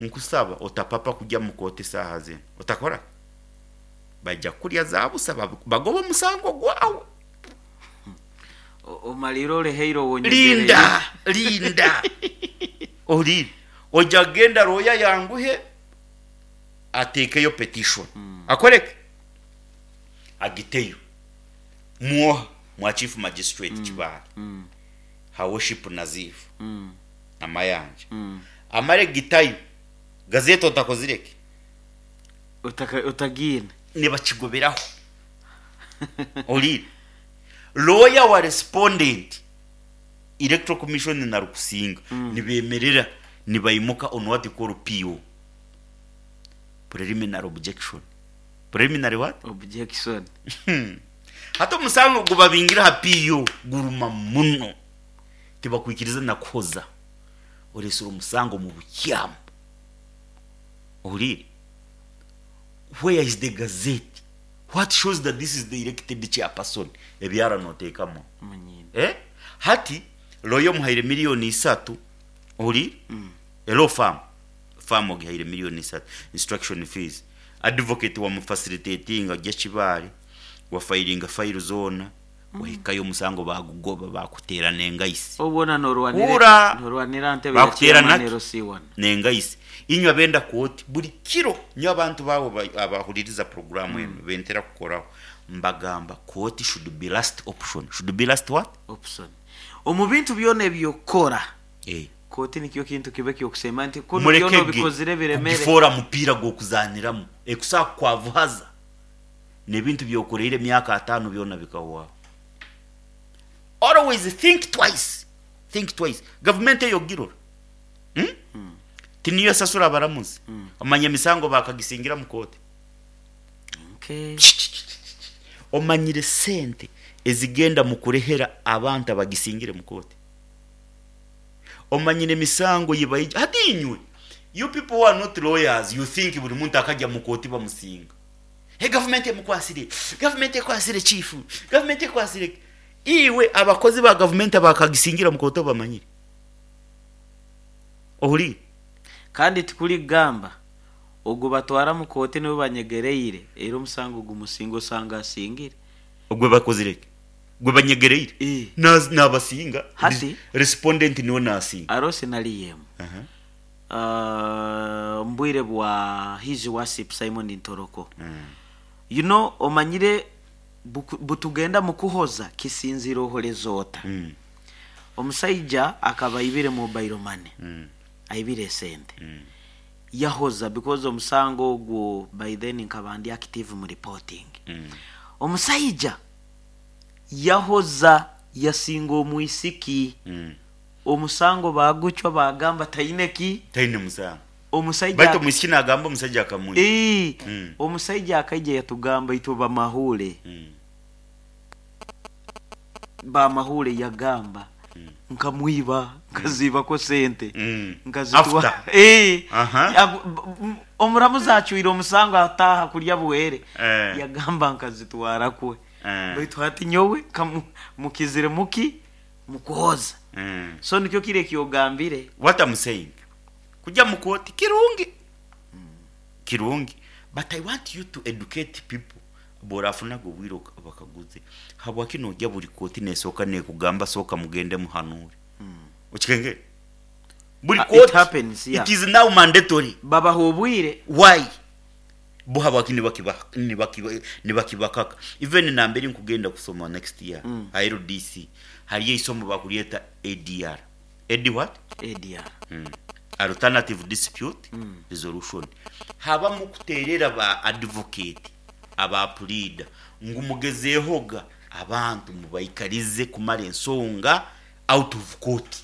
Nkusaba otapapa kujya mu kooti saaha zinu. Otakora? Baija kukulya za busa, bagobe omusango gwawe. Omalire oleheire owonyegereire. Linda, linda. Ohuliire? Oija kugenda looya ayanguhe ateekeyo petition. Akore ki? Agiteyo. Mwoha? Mwa Chief Magistrate Kibaale. Her Worship Nazif Namayanja. Amare kugitayo, gazeti otakozire ki? Otagiine. Nibakigoberaho. Ohuliire? Looya wa respondent, Electoral Commission na Rukusinga nibemerera nibaimuka on what you call PO, Preliminary Objection. Preliminary what? Objection. Hati omusango gubabingire aha PO guruma muno. Tibakwikiriza na kuhoza. Oresire omusango omu bukyamu. Ohuliire? Where is the gazette? What shows that this is the elected chairperson? Ebyara noteekamu. Munyindo. Eh? Hati lawyer omuhaire millioni isatu, ohuliire? A law firm, firm ogihaire millioni isatu, instruction fees. Advocate wamufacilitatinga ogya Kibaale, wafayiringa file zoona, wahikayo omusango bagugoba bakuteera n'engaisi. Obwona norwanira Hurra! norwanira ntebe ya Bakuteera chairman naki? LC1. N'engaisi. Inywe abenda kooti buri kiro, nyowe abantu baawe abahuririza puroguraamu enu bentera kukoraho, mbagamba kooti should be last option. Should be last what? Option. Omu bintu byona eby'okukora, Eh. kooti nikyo kintu kibe eky'okusemba nti kunu byona Murekege obikozire biremere. kugifoora mupiira gw'okuzaaniramu, ekusobola kukwavuhaza n'ebintu by'okoreire emyaka ataano byona bikahwaho. Always think twice, think twice. Gavumenti eyo ogirora? Hmm? Tiniyo esasura abaramuzi? Omanya emisango bakagisingira mu kooti? Okay. Omanyire sente ezigenda mu kurehera abantu abagisingire mu kooti? Omanyire emisango yibaija? Hati inywe, you people who are not lawyers, you think buri muntu akajya mu kooti bamusinga. Hey, gavumenti emukwasire, gavumenti ekwasire chief, gavumenti ekwasire. Iwe abakozi ba gavumenti abakagisingira mu kooti obamanyire? Ohuliire? Kandi tikuri kugamba ogu batwara mu kooti niwe banyegereire, era omusango gumusinga osanga asingire. Ogwe bakozire ki? Gwe banyegereire? Eh. Nabasinga. Hati? Respondent niwe nasinga. Aroho scenario emu. Omu bwire bwa His Worship Simon Ntoroko. You know omanyire butugenda mukuhoza kisinziira ohoreza ota. Omusaija akaba aibire mobile money, aibire esente. Yahoza because omusango ogwo by then nkaba ndi active mu reporting. Omusaija yahoza yasinga omwisiki. Omusango baagucwa baagamba taine ki? Taine musango. Omusaija Baitu omwisiki naagamba omusaija akamwiba. Ii, omusaija akaija yatugamba itwe bamahuure. Bamahuure yagamba nkamwiba, nkaziibako sente, nkazitwara. After. Ii, Aha. Omuramuzi acwire omusango ataaha kulya bwere. Eh. Yagamba nkazitwara kwe. Eh. Baitu hati nyowe mukizire muki? Mukuhoza. So nikyo kiri ekyogambire. What I'm saying, kujya mu kooti kirungi. Kirungi. But I want you to educate people. Bw'orafunaga obwire bakaguze, habwaki noija buri kooti nesooka nekugamba sooka mugende muhanuure? Okikengere? Buri It kooti, happens, yeah. It is now mandatory. Babaha obwire. Why? Bo habwaki nibakibakaka? Even nambere nkugenda kusoma next year, ha LDC, hariyo eisomo bakuryeta ADR. AD what? ADR. Alternative Dispute Resolution. Habamu kuterera ba advocate, aba pleader, ngu mugezeehoga abantu mubaikarize kumara ensonga out of court.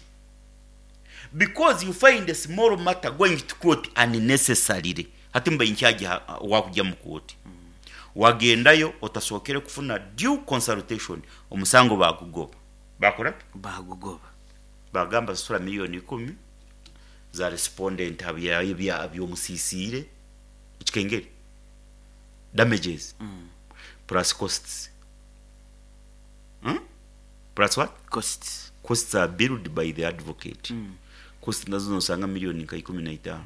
Because you find a small matter going to court unnecessarily. Hati mba in charge wakujya mu kooti. Wagendayo otasookere kufuna due consultation, omusango bagugoba. Bakora ki? Bagugoba. Bagamba sasura milioni ikumi za respondent by'omusisiire ekikengere damages plus costs. Plus what? Costs. Costs are billed by the advocate. Costs nazo nosanga milioni nka ikumi na itaano.